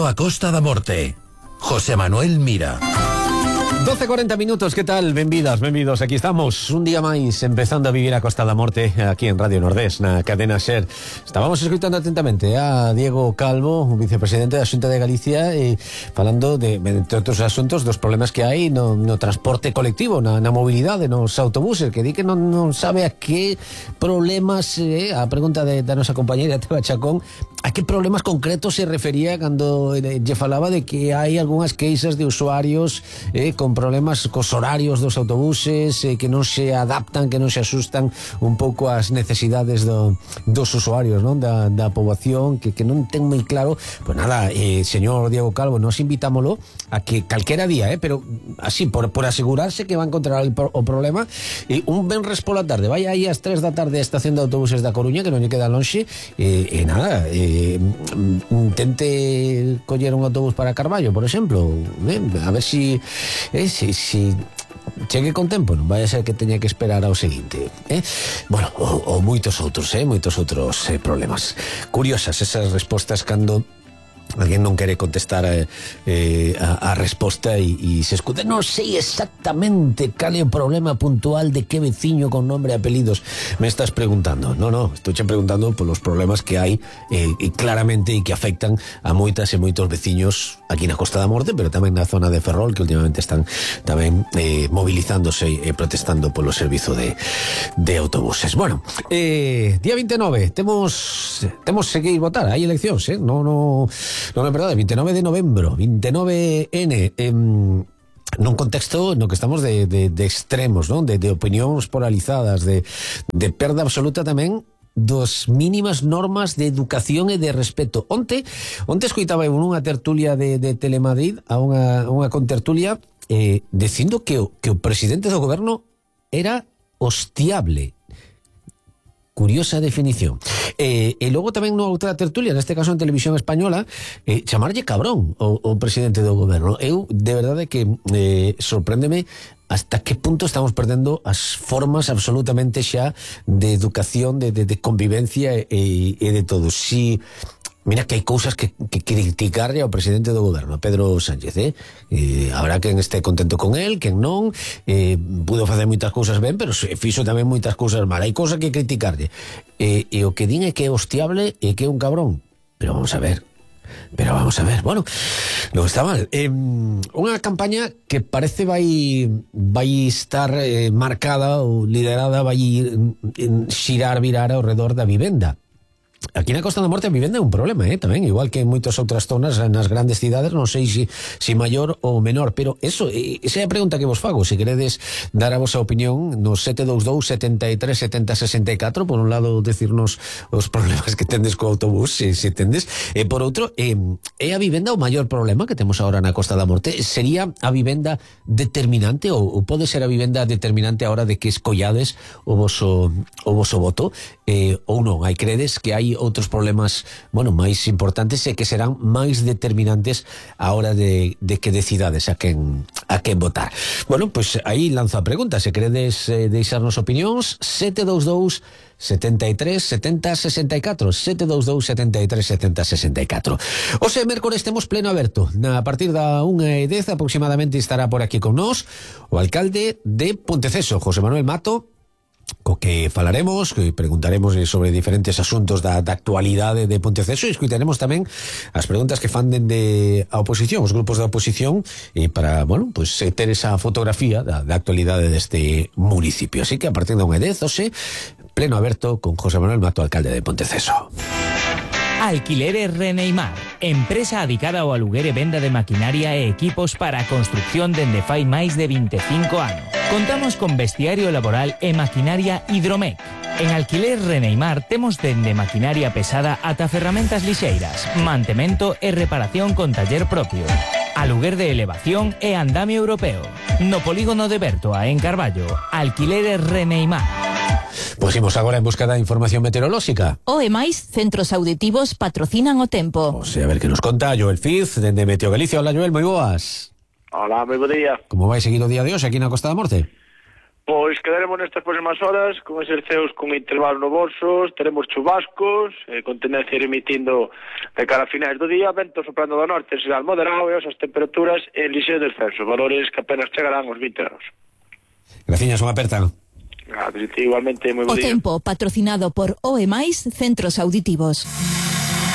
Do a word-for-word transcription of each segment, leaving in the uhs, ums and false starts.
Benvido a Costa da Morte. José Manuel Mira. doce e cuarenta minutos, que tal? Benvidas, benvidos, aquí estamos un día máis empezando a vivir a Costa da Morte aquí en Radio Nordés, na cadena SER. Estábamos escutando atentamente a Diego Calvo, o vicepresidente da Xunta de Galicia, e falando de, entre outros asuntos, dos problemas que hai no, no transporte colectivo, na, na mobilidade, nos autobuses, que di que non, non sabe a que problemas, eh, a pregunta de, da nosa compañera Teba Chacón, a que problemas concretos se refería cando eh, lle falaba de que hai algunhas queixas de usuarios eh, con problemas cos horarios dos autobuses, eh, que non se adaptan, que non se asustan un pouco ás necesidades do, dos usuarios, non? Da, da poboación, que, que non ten moi claro. Pois nada, eh, señor Diego Calvo, nos invitámoslo a que calquera día, eh, pero así, por, por asegurarse que va a encontrar el, o problema, eh, un venres pola tarde, vai aí ás tres da tarde a estación de autobuses da Coruña, que non lle queda lonxe, e eh, eh, nada, eh, intente coller un autobús para Carballo, por exemplo, eh, a ver si eh, si, si chegue con tempo, non vai a ser que teña que esperar ao seguinte, eh? Bueno, ou, ou moitos outros, eh? moitos outros eh, problemas. Curiosas esas respostas cando alguén non quere contestar eh, eh, a, a resposta e, e se escuta, non sei exactamente cal é o problema puntual de que veciño con nombre e apelidos me estás preguntando. No, no, estou che preguntando polos problemas que hai eh, e claramente e que afectan a moitas e moitos veciños aquí na Costa da Morte, pero tamén na zona de Ferrol, que últimamente están tamén eh, movilizándose e protestando polo servizo de, de autobuses. Bueno, eh, día vinte e nove temos temos que ir votar, hai eleccións, eh? No, no Non é verdade, vinte e nove de novembro, vinte e nove ene, em, nun contexto no que estamos de, de, de extremos, non? De, de opinións polarizadas, de, de perda absoluta tamén dos mínimas normas de educación e de respeto. Onte, onte escoitaba eu nunha tertulia de, de Telemadrid, a unha, unha contertulia, eh, dicindo que o, que o presidente do goberno era hostiable. Curiosa definición. Eh, e logo tamén nunha outra tertulia, neste caso en Televisión Española, eh, chamarlle cabrón o, o presidente do goberno. Eu, de verdade que eh, sorpréndeme hasta que punto estamos perdendo as formas absolutamente xa de educación, de, de, de convivencia e, e de todo. Si mira que hai cousas que, que criticarle ao presidente do goberno, a Pedro Sánchez, eh? eh habrá quen este contento con él, quen non, eh, pudo facer moitas cousas ben, pero fixo tamén moitas cousas mal. Hai cousas que criticarle, eh, e o que din é que é hostiable e que é un cabrón, pero vamos a ver pero vamos a ver, bueno, non está mal. Eh, unha campaña que parece vai vai estar eh, marcada ou liderada, vai xirar, virar ao redor da vivenda. Aquí na Costa da Morte a vivenda é un problema, eh, tamén, igual que en moitas outras zonas nas grandes cidades, non sei se si, si maior ou menor, pero eso, esa é a pregunta que vos fago. Se queredes dar a vosa opinión no sete dous dous, setenta e tres, setenta, sesenta e catro, por un lado decirnos os problemas que tendes co autobús, se, se tendes, e por outro, eh, é a vivenda o maior problema que temos agora na Costa da Morte? Sería a vivenda determinante ou, ou pode ser a vivenda determinante a hora de que escollades o voso, o voso voto, eh, ou non? Hai credes que hai outros problemas, bueno, máis importantes e que serán máis determinantes a hora de, de que decidades a quen a quen votar. Bueno, pois pues aí lanzo a pregunta, se queredes eh, deixarnos opinións, sete dous dous, setenta e tres, setenta, sesenta e catro, sete dous dous, setenta e tres, setenta, sesenta e catro. Ose mércores temos pleno aberto. Na a partir da unha e dez aproximadamente estará por aquí con nós o alcalde de Ponteceso, José Manuel Mato, co que falaremos, que preguntaremos sobre diferentes asuntos da, da actualidade de Ponteceso e escutaremos tamén as preguntas que fan dende a oposición, os grupos da oposición, e para, bueno, pues ter esa fotografía da, da actualidade deste municipio. Así que a partir da unha e dez, ose, pleno aberto con José Manuel Mato, alcalde de Ponteceso. Alquileres Reneimar, empresa adicada ao aluguer e venda de maquinaria e equipos para a construcción dende fai máis de vinte e cinco anos. Contamos con vestiario laboral e maquinaria Hidromec. En Alquileres Reneimar temos dende maquinaria pesada ata ferramentas lixeiras, mantemento e reparación con taller propio, aluguer de elevación e andamio europeo. No polígono de Bertoa, en Carballo, Alquileres Reneimar. Pois imos agora en busca da información meteorolóxica. O e máis, centros auditivos patrocinan o tempo. O sea, a ver que nos conta Joel Fiz, dende Meteo Galicia. Hola, Joel, moi boas. Hola, moi bo día. Como vai seguir o día de hoxe aquí na Costa da Morte? Pois quedaremos nestas próximas horas con exerceos con intervalo no bolsos, teremos chubascos, eh, con tendencia a ir emitindo de cara a finais do día, vento soprando do norte será moderado e as temperaturas en lixeiro descenso, valores que apenas chegarán aos vinte graus. Graciñas, unha aperta. Gracias, igualmente, moi bo O día. tempo, patrocinado por O E Mais Centros Auditivos.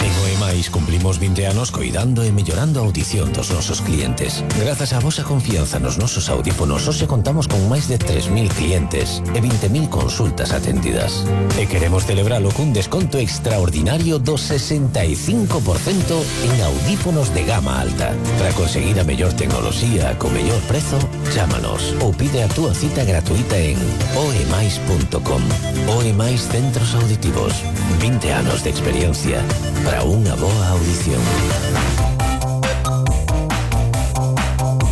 En O E Mais cumplimos vinte anos coidando e mellorando a audición dos nosos clientes. Grazas á vosa confianza nos nosos audífonos, hoxe contamos con máis de tres mil clientes e vinte mil consultas atendidas. E queremos celebralo cun desconto extraordinario do sesenta e cinco por cento en audífonos de gama alta. Para conseguir a mellor tecnoloxía co mellor prezo, chámanos ou pide a túa cita gratuita en oemais punto com. O E Mais Centros Auditivos. vinte anos de experiencia para unha boa audición.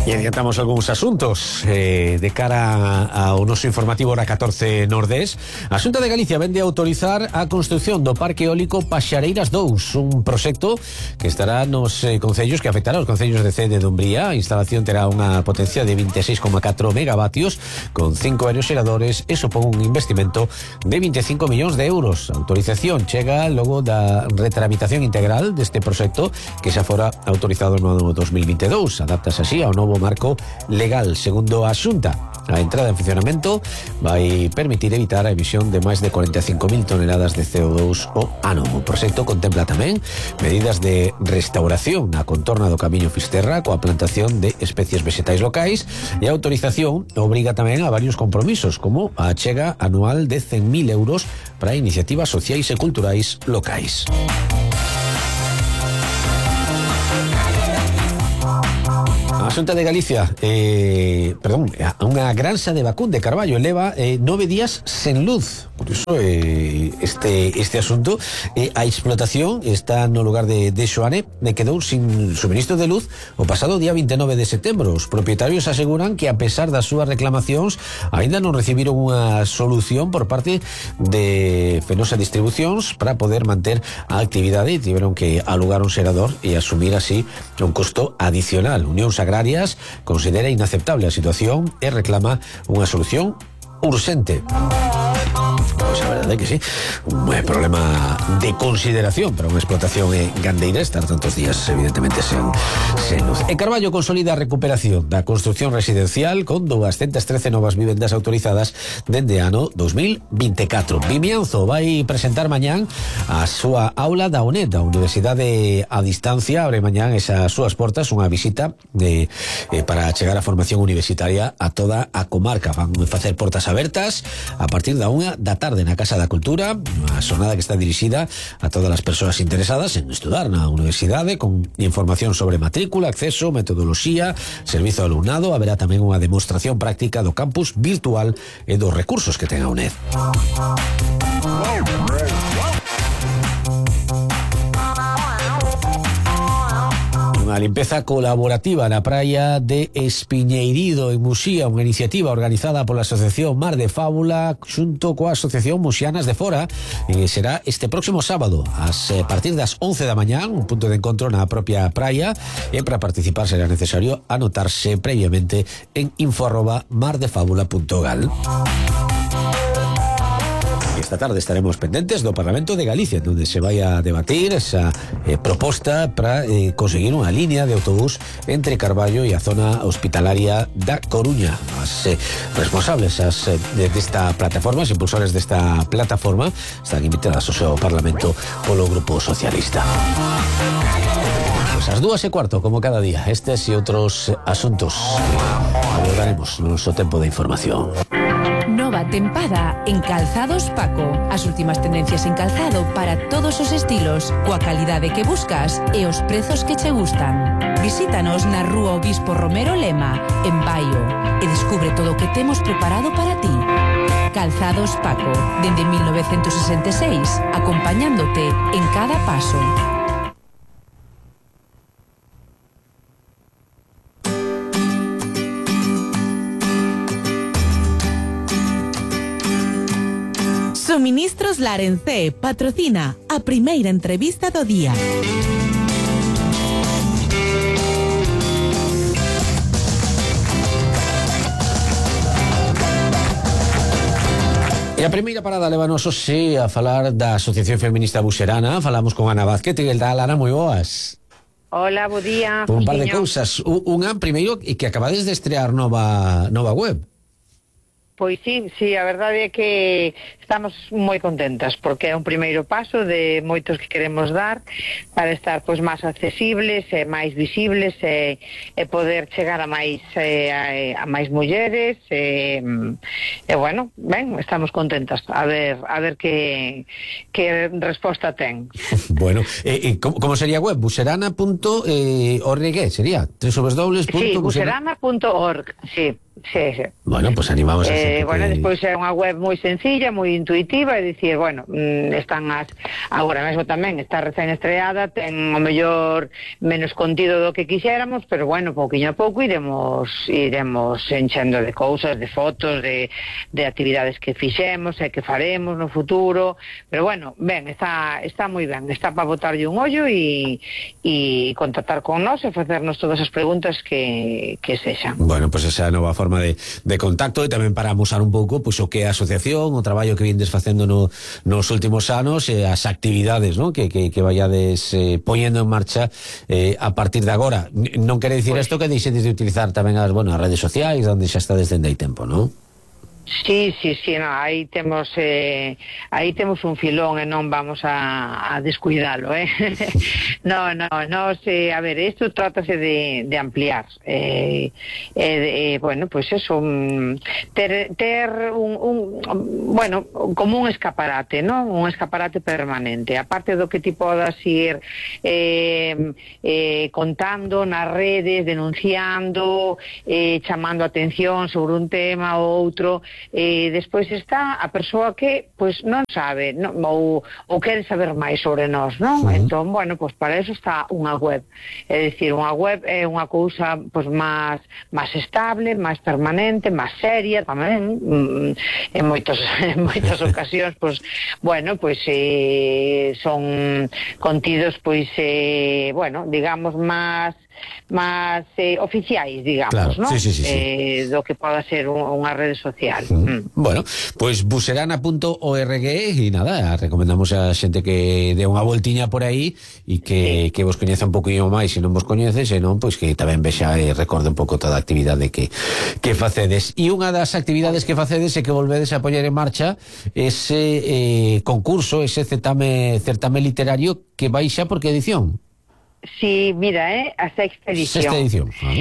E adiantamos algúns asuntos eh, de cara ao noso informativo hora catorce Nordés. A Xunta de Galicia vende a autorizar a construción do Parque Eólico Paxareiras dous, un proxecto que estará nos eh, concellos, que afectará aos concellos de Cee e de Dumbría. A instalación terá unha potencia de vinte e seis coma catro megavatios con cinco aeroxeradores e supón un investimento de vinte e cinco millóns de euros. A autorización chega logo da retramitación integral deste proxecto que xa fora autorizado no ano dos mil veintidous. Adaptase así ao novo marco legal. Segundo a Xunta, a entrada en funcionamento vai permitir evitar a emisión de máis de cuarenta e cinco mil toneladas de C O dos o ano. O proxecto contempla tamén medidas de restauración na contorna do Camiño Fisterra coa plantación de especies vegetais locais, e a autorización obriga tamén a varios compromisos, como a achega anual de cen mil euros para iniciativas sociais e culturais locais. A Xunta de Galicia, eh, perdón, unha granxa de Vacún de Carballo leva eh, nove días sen luz. Por iso eh, este, este asunto, eh, a explotación está no lugar de, de Xoane, me quedou sin suministro de luz o pasado día veintinueve de setembro. Os propietarios aseguran que a pesar das súas reclamacións aínda non recibiron unha solución por parte de Fenosa Distribucións para poder manter a actividade e tiveron que alugar un xerador e asumir así un costo adicional. Unións Agrarias considera inaceptable a situación e reclama unha solución urxente. Pois a verdade é que sí, un eh, problema de consideración para unha explotación eh, gandeira estar tantos días evidentemente sen, sen luz. E Carballo consolida a recuperación da construcción residencial con doscientas trece novas vivendas autorizadas dende ano dos mil veinticuatro. Vimianzo vai presentar mañán a súa aula da UNED, a Universidade a Distancia, abre mañán esas súas portas, unha visita de, eh, para chegar a formación universitaria a toda a comarca. Van facer portas abertas a partir da unha da tarde na Casa da Cultura, unha xornada que está dirixida a todas as persoas interesadas en estudar na universidade, con información sobre matrícula, acceso, metodoloxía, servizo ao alumnado. Haberá tamén unha demostración práctica do campus virtual e dos recursos que ten a UNED. Unha limpeza colaborativa na praia de Espiñeirido en Muxía, unha iniciativa organizada pola Asociación Mar de Fábula xunto coa Asociación Muxianas de Fora, e será este próximo sábado a partir das once da mañán, un punto de encontro na propia praia, e para participar será necesario anotarse previamente en info arroba mardefábula punto gal. Esta tarde estaremos pendentes do Parlamento de Galicia, donde se vai a debatir esa eh, proposta para eh, conseguir unha línea de autobús entre Carballo e a zona hospitalaria da Coruña. As eh, responsables as, eh, desta plataforma, os impulsores desta plataforma, están invitadas ao seu Parlamento polo Grupo Socialista. Pues as dúas e cuarto, como cada día, estes e outros asuntos abordaremos no noso tempo de información. Nova tempada en Calzados Paco. As últimas tendencias en calzado para todos os estilos, coa calidade que buscas e os prezos que che gustan. Visítanos na Rúa Obispo Romero Lema, en Baio, e descubre todo o que temos preparado para ti. Calzados Paco, dende mil novecentos sesenta e seis, acompañándote en cada paso. Suministros Larencé patrocina a primeira entrevista do día. E a primeira parada levanos hoxe a falar da Asociación Feminista Buxerana. Falamos con Ana Vázquez. Que tal, Ana? Moi boas. Hola, bo día. Un par de cousas. Unha, primeiro, e que acabades de estrear nova nova web. Pois sí, sí, a verdade é que estamos moi contentas porque é un primeiro paso de moitos que queremos dar para estar pois máis accesibles e máis visibles e, e poder chegar a máis eh, a, a máis mulleres e, e bueno, ben, estamos contentas a ver a ver que que resposta ten. Bueno, e, e como, como sería a web? buxerana punto org sería? doble u doble u doble u punto Sí, buxerana punto org, sí. Sí, sí. Bueno, pues animamos a eh, xente bueno, que... despois é unha web moi sencilla, moi intuitiva, é dicir, bueno, están as agora mesmo tamén está recén estreada, ten o mellor menos contido do que quixéramos, pero bueno, pouquiño a pouco iremos iremos enchendo de cousas, de fotos, de, de actividades que fixemos e que faremos no futuro, pero bueno, ben, está está moi ben, está para botarlle un ollo e e contactar con nós e facernos todas as preguntas que, que sexan. Bueno, pues esa nova forma de, de contacto e tamén para amosar un pouco pois, o que é a asociación, o traballo que vindes facendo no, nos últimos anos e as actividades, ¿no? que, que, que vayades eh, poñendo en marcha eh, a partir de agora. Non quere dicir isto pues... que deixedes de utilizar tamén as, bueno, as redes sociais onde xa está desde hai tempo, non? Sí, sí, sí, no, aí temos eh, aí temos un filón e non vamos a, a descuidalo, eh. no, no, no, se, a ver, isto trátase de, de ampliar eh, eh, eh, bueno, pues eso un, ter, ter un, un bueno, como un escaparate, ¿no? Un escaparate permanente, aparte do que ti podas ir eh, eh, contando nas redes, denunciando eh, chamando a atención sobre un tema ou outro. E despois está a persoa que pois non sabe non, ou, ou quere saber máis sobre nós, non? Uh-huh. Entón, bueno, pois para eso está unha web. É dicir, unha web é unha cousa pois máis máis estable, máis permanente, máis seria tamén, mm, en moitos en moitas ocasións, pois bueno, pois eh, son contidos pois eh, bueno, digamos máis máis eh, oficiais, digamos, claro, ¿no? Sí, sí, sí, eh, sí. do que poda ser un, unha rede social. Mm. Mm. Bueno, pois pues buxerana punto org e nada, recomendamos a xente que dé unha voltiña por aí e que, sí. que vos coñeza un poquinho máis se non vos coñeces, e non, pois que tamén vexa e recorde un pouco toda a actividade que, que facedes. E unha das actividades que facedes é que volvedes a poñer en marcha ese eh, concurso, ese certame, certame literario que vai xa por que edición? Sí, mira, eh, a sexta edición. Sexta edición. Ah.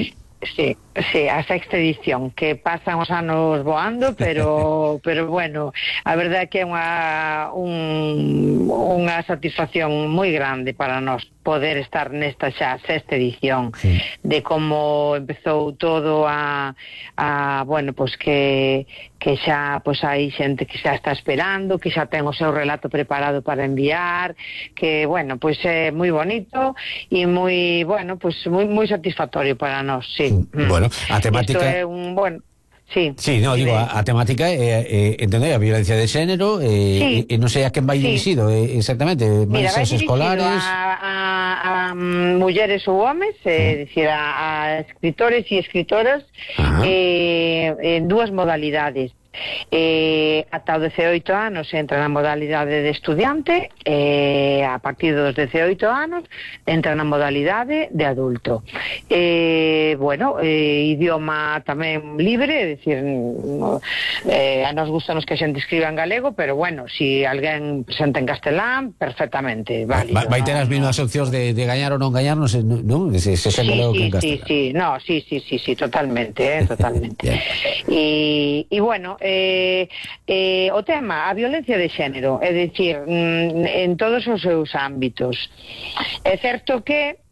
Sí, sí, a sexta edición, que pasan os anos voando, pero pero bueno, a verdade é que é unha un, unha satisfacción moi grande para nós poder estar nesta xa sexta edición, sí. De como empezou todo a, a bueno, pois que que xa pois hai xente que xa está esperando, que xa ten o seu relato preparado para enviar, que bueno, pois é moi bonito e moi, bueno, pois moi moi satisfactorio para nós, sí. Bueno, a temática isto é un, bueno, sí. Sí, no, digo, a, a temática é, é entender a violencia de xénero e, sí. e, e non sei a quen vai sí. dirixido eh, exactamente, mira, vai dirixido escolares a, a, a um, mulleres ou homes, é eh, dicir, a, a escritores e escritoras eh, en dúas modalidades. Eh, ata os dezaoito anos entra na modalidade de estudiante e eh, a partir dos dezaoito anos entra na modalidade de adulto. Eh, bueno, eh, idioma tamén libre, é dicir, eh, a nos gustanos que a xente escriba en galego, pero bueno, si alguén presenta en castelán, perfectamente válido. Vai, vai ter as mesmas opcións de, de gañar ou non gañar, non sei, non? Se, se sí, galego sí, que en sí, sí, no, sí, sí, sí, sí, totalmente, eh, totalmente. E, e bueno, Eh, eh, o tema, a violencia de xénero, é dicir, mm, en todos os seus ámbitos. É certo que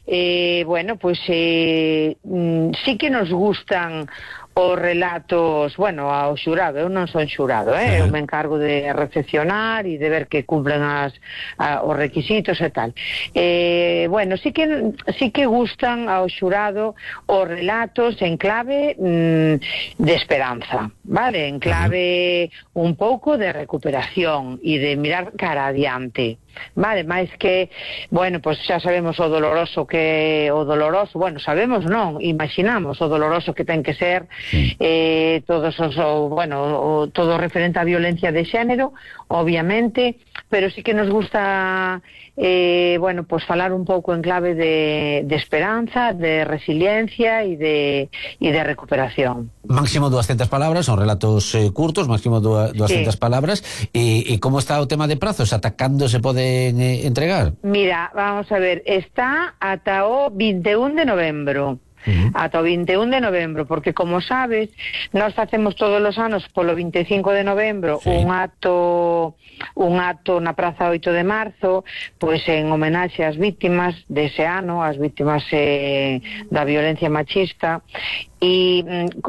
eh, bueno, pois eh, mm, sí que nos gustan os relatos, bueno, ao xurado, eu non son xurado, eh? Eu me encargo de recepcionar e de ver que cumplen as, a, os requisitos e tal. Eh, bueno, sí que sí que gustan ao xurado os relatos en clave mm, de esperanza, vale? En clave un pouco de recuperación e de mirar cara adiante. Vale, máis que, bueno, pois pues xa sabemos o doloroso que o doloroso, bueno, sabemos non, imaginamos o doloroso que ten que ser eh, todos os, o, bueno, o, todo referente á violencia de xénero, obviamente, pero sí que nos gusta eh, bueno, pois pues falar un pouco en clave de, de esperanza, de resiliencia e de, e de recuperación. Máximo doscientas palabras, son relatos eh, curtos, máximo doscientas sí. palabras, e, e como está o tema de prazos? Ata cando se poden eh, entregar? Mira, vamos a ver, está ata o vinte e un de novembro. Uh-huh. Ata o vinte e un de novembro, porque como sabes, nós facemos todos os anos polo vinte e cinco de novembro sí. un acto un acto na Praza oito de marzo, pois en homenaxe ás vítimas dese ano, ás vítimas eh, da violencia machista. E,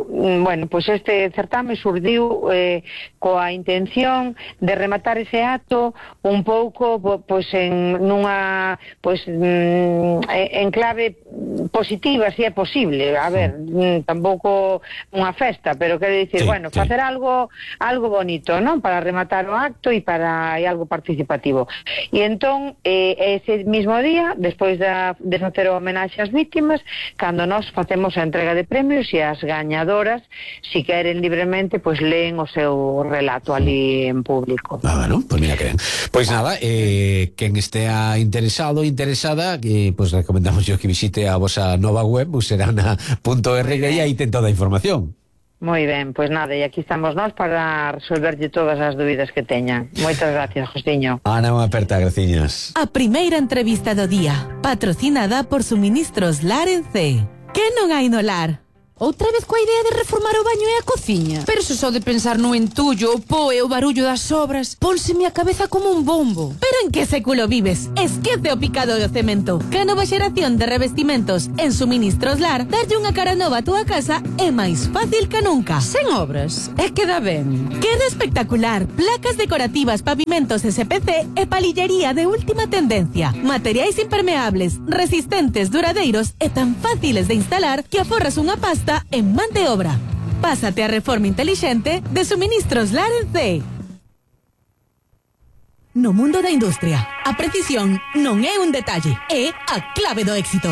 bueno, pois este certame surdiu eh, coa intención de rematar ese acto un pouco pois en nunha pois en clave positiva, se é posible. A ver, tampouco unha festa, pero quero dicir, sí, bueno, sí. facer algo algo bonito, non? Para rematar o acto e para e algo participativo. E entón, eh, ese mismo día, despois da, de facer o homenaxe ás vítimas, cando nós facemos a entrega de premios e as gañadoras, si queren libremente, pois leen o seu relato ali en público. Ah, bueno, pois mira que ben. Pois nada, eh, quen estea interesado, interesada, que pois recomendamos yo que visite a vosa nova web, buserana punto org, e aí ten toda a información. Moi ben, pois nada, e aquí estamos nós para resolverlle todas as dúbidas que teñan. Moitas gracias, Josiño. Ana, unha aperta, graciñas. A primeira entrevista do día, patrocinada por Suministros Lar en C. Que non hai no lar? Outra vez coa idea de reformar o baño e a cociña. Pero se só de pensar no entullo, o po e o barullo das obras, pónseme a cabeza como un bombo. Pero en que século vives? Esquece o picado do cemento. Que a nova xeración de revestimentos en Suministros Lar, darlle unha cara nova a túa casa é máis fácil que nunca. Sen obras, e queda ben. Queda espectacular. Placas decorativas, pavimentos S P C e palillería de última tendencia. Materiais impermeables, resistentes, duradeiros e tan fáciles de instalar que aforras unha pasta en man de obra. Pásate a reforma intelixente de Suministros Lar en C. No mundo da industria, a precisión non é un detalle, é a clave do éxito.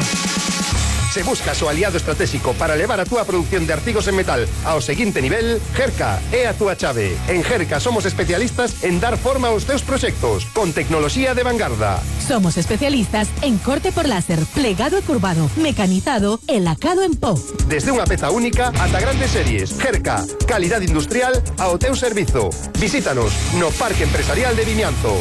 Se buscas o aliado estratégico para levar a túa produción de artigos en metal ao seguinte nivel, Gerca é a túa chave. En Gerca somos especialistas en dar forma aos teus proxectos, con tecnoloxía de vanguarda. Somos especialistas en corte por láser, plegado e curvado, mecanizado e lacado en pó. Desde unha peza única ata grandes series. Gerca, calidade industrial ao teu servizo. Visítanos no Parque Empresarial de Vimianzo.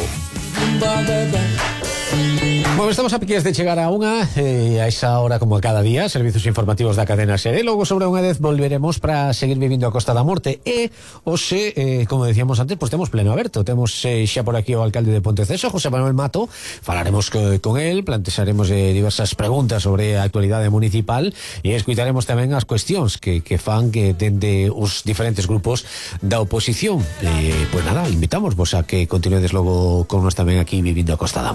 Bueno, estamos a piques de chegar a unha eh, a esa hora como a cada día, servizos informativos da cadena SER. E logo sobre unha vez volveremos para seguir vivindo a Costa da Morte. E hoxe, eh, como decíamos antes, pues temos pleno aberto. Temos eh, xa por aquí o alcalde de Ponteceso, José Manuel Mato. Falaremos co, con el, plantexaremos eh, diversas preguntas sobre a actualidade municipal e escutaremos tamén as cuestións que, que fan que dende os diferentes grupos da oposición. E, pues nada, invitamos vos a que continuedes logo con nos tamén aquí vivindo a Costa da Morte.